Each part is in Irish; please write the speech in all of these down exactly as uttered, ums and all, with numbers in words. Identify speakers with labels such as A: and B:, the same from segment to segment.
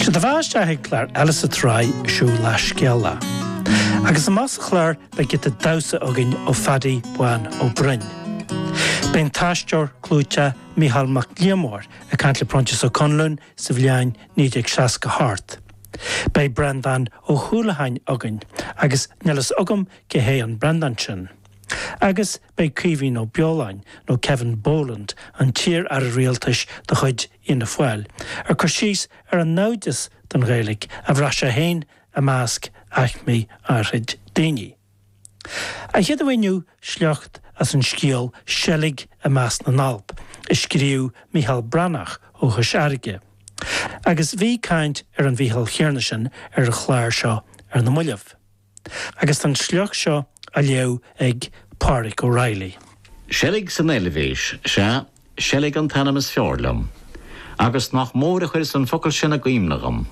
A: Sé do bheatha isteach ag clár eile sa tsraith seo lá scéala. Agus amach sa chlár beidh giota damhsa againn ó Phaddy Bán Ó Broin. Beidh an t-aisteoir clúiteach Mícheál Mac Liammóir ag caint le Proinsias Ó Conluain sa bhliain naoi déag seasca hocht. Beidh Breandán Ó hUallacháin againn agus níl fhios agam cé hé an Breandán sin. Agus beidh Caoimhín Ó Beoláin nó Kevin Boland an t-iar-aire rialtais de chuid Fhianna Fáil, ag cur síos ar an naimhdeas don Ghaeilge a bhraith sé féin i measc aicmí áirid daoine. A chéad inniu sliocht as an scéal Seilg i measc na nAlp, a scríobh Mícheál Breathnach ó Chois Fharraige. Agus bhí caint ar an Mhícheál céanna sin ar an chlár seo ar na mallaibh. Agus an sliocht seo á léamh ag Pádraig O'Reilly.
B: Seilg san Eilvéis sea seilg an t-ainm is fearr liom, agus nach mór a chuir an focal sin i gcuimhne dhom.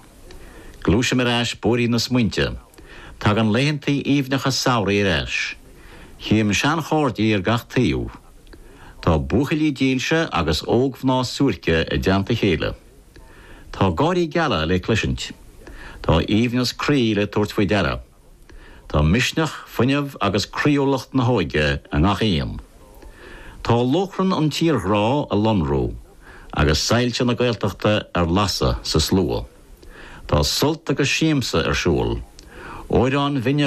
B: Gluaisim ar ais bóithrín na smaointe, Tagann laethantaí aoibhneacha samhraidh ar ais. Chím seanchairde ar gach taobh. Tá buachaillí dílse agus ógmhná suairce i dteannta a chéile. Tá gáirí geala le cloisint. Tá aoibhneas croí le tabhairt faoi deara. Tá misneach, fuinneamh agus croíúlacht na hóige i ngach aon. Tá lóchrann an tírghrá á lonrú agus soilse na Gaeltachta ar lasadh sa slua. Tá sult agus siamsa ar siúl, Amhráin bhinne